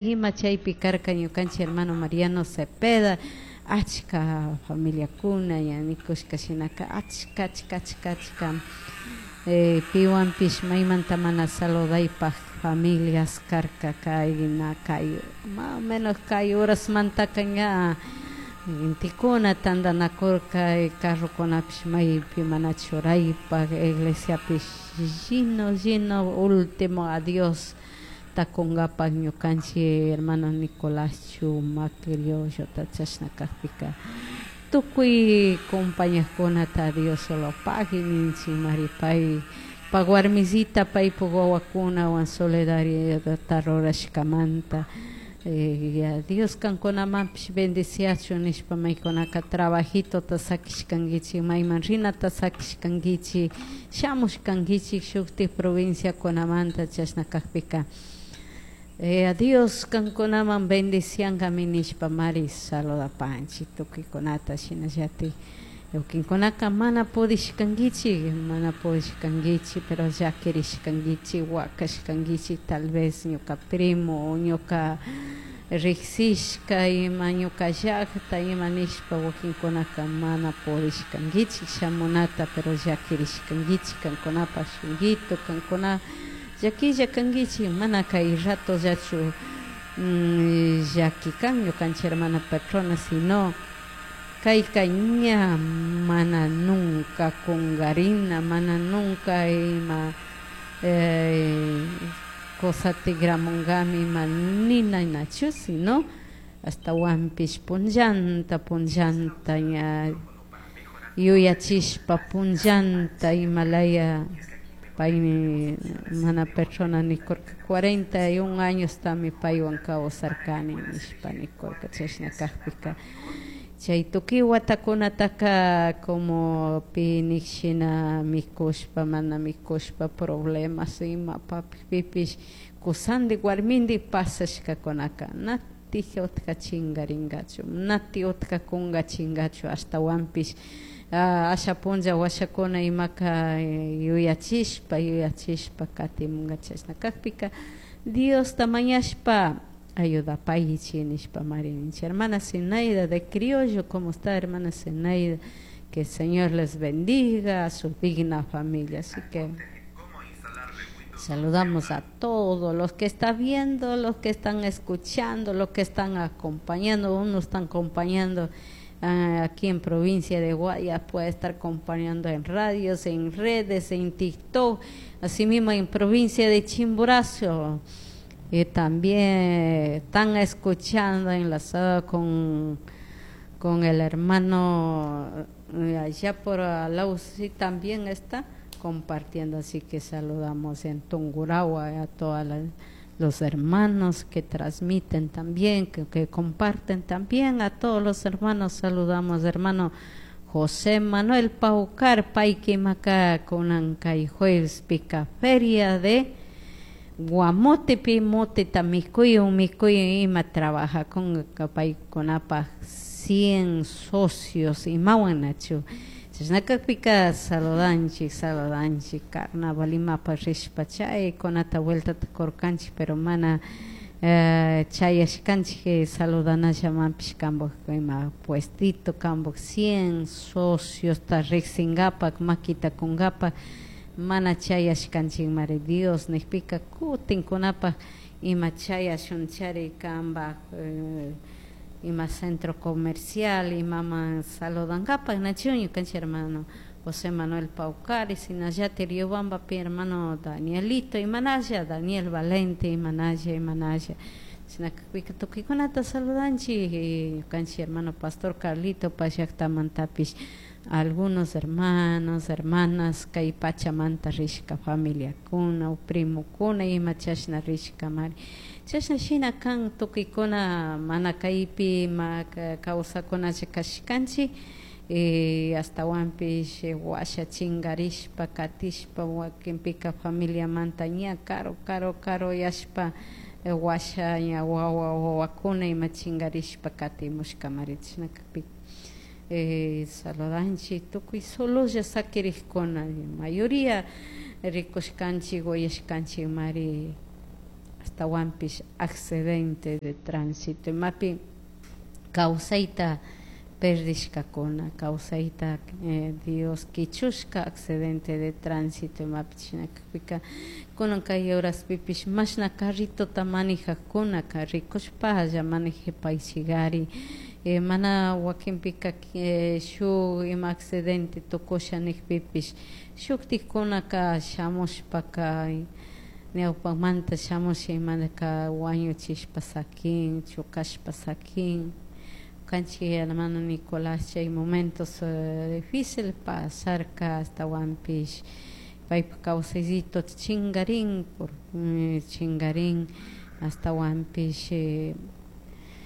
Ima chaypi karka ñukanchik hermano Mariano Cepeda, achka familiakuna ña nikushka shinaka achka achka achka achka piwanpish maymanta mana saludaypak familias karka kay na kay más o menos kay horasmantaka ña gentekuna tantanakurka, carrokunapish maypi mana churaypak, iglesiapish lleno lleno último adiós takungapak ñukanchik hermano Nicolás Chumac Criollota chashna kakpika tukuy compañakunata Dios solo pagui ninchik pay pak warmisita paypuk wawakunawan solidaridadta rurashkamanta. Dios kankunamanpish bendiciachun nishpa maykunaka trabajitota sakishkankichik, mayman rinata sakishkankichik, shamushkankichik shuktik provinciakunamanta chashna kakpika Dios kankunaman bendiciankami nishpa mari saludapanchik tukuykunata shinallatik wakinkunaka mana pudishkankichik, mana pudishkankichik pero llakirishkankichik, wakashkankichik tal vez ñuka primo o ñuka riksishka ima ñuka llakta ima nishpa wakinkunaka mana pudishkankichik shamunata pero llakirishkankichik kankunapak shunguito kankuna llakilla kankichik mana kay ratollachu llaki kan ñukanchik hermana Petrona sino kayka ña mana nunca kungarina, mana nunca ima cosa tigramunkami ima nina nachu sino ashtawanpish punllanta punllanta ña yuyachishpa punllanta imalaya paymi mana Petrona nikurka 41 añostami paywan kawsarkani nishpa nikurka chashna kakpika chay tukuy watakunataka como pi nik shina mikushpa mana mikushpa problemas ima pipish kusandik warmindik pasashkakunaka natik utka chingaringachu, natik utka kungachingachu ashtawanpish asha punlla washakuna imaka yuyachishpa yuyachishpa katimunga chashna kakpika Diosta mañashpa ayudapaychik nishpa mari ninchik. Hermana Zenaida de Criollo, ¿cómo está, hermana Zenaida? Que el Señor les bendiga a su digna familia. Así que saludamos a todos los que están viendo, los que están escuchando, los que están acompañando. Unos están acompañando aquí en provincia de Guayas, puede estar acompañando en radios, en redes, en TikTok, asimismo en provincia de Chimborazo. Y también están escuchando enlazado con el hermano allá por Alausi también está compartiendo, así que saludamos en Tungurahua a todos los hermanos que transmiten también, que comparten también, a todos los hermanos saludamos, hermano José Manuel Paucar, Paiquimaca, kunan kay jueves pica feria de Guamotepi, moteta mikuy, mikuy ima trabaja con paykunapaj 100 socios imawan nachu. Chashna kakpika saludanchik, saludanchik, carnaval imapak rishpa chaykunata vueltata kurkanchik, pero mana chayashkanchik saludanallamanpish kanpak ima puestito, kanpak 100 sociosta riksinkapak makita kunkapak mana chayashkanchikmari Dios nikpika kutinkunapak ima chayashunchari kanpak ima centro comercial imaman saludankapak nachu ñukanchik hermano José Manuel Paucari, shinallatik Riobambapi hermano Danielito imanalla, Daniel Valente imanalla, imanalla. Shina kakpika tukuykunata saludanchik ñukanchik hermano Pastor Carlito pashaktamantapish algunos hermanos, hermanas kay pachamanta rishka familiakuna o primokuna ima chashna rishkamari. Chashna shina kan tukuykuna mana kaypi ima kawsakunalla kashkanchik ashtawanpish washa chingarishpa katishpa wakinpika familiamanta ña karu karu karu yashpa washa ña wawa wawakuna ima chingarishpa katimushkamari chashna kakpika saludanchik tukuy sololla sakirikkuna mayoría rikushkanchik uyashkanchik mari. Ashtawanpish accidente de tránsito imapi kawsayta perdishkakuna, kawsayta Dios kichushka accidente de tránsito imapi. Chishna kakpika kunan kay horaspipish mashna carritota manejakkunaka rikushpalla manejapaychikari, mana wakinpika shuk ima accidente tukusha nikpipish shuktikkunaka shamushpaka ñawpamanta shamush imanaka wañuchishpa sakin, chukashpa sakin. Ñukanchik hermano Nicolás chay momentos difícil pasarka, ashtawanpish paypak kawsayllito chingarin, por chingarin, ashtawanpish.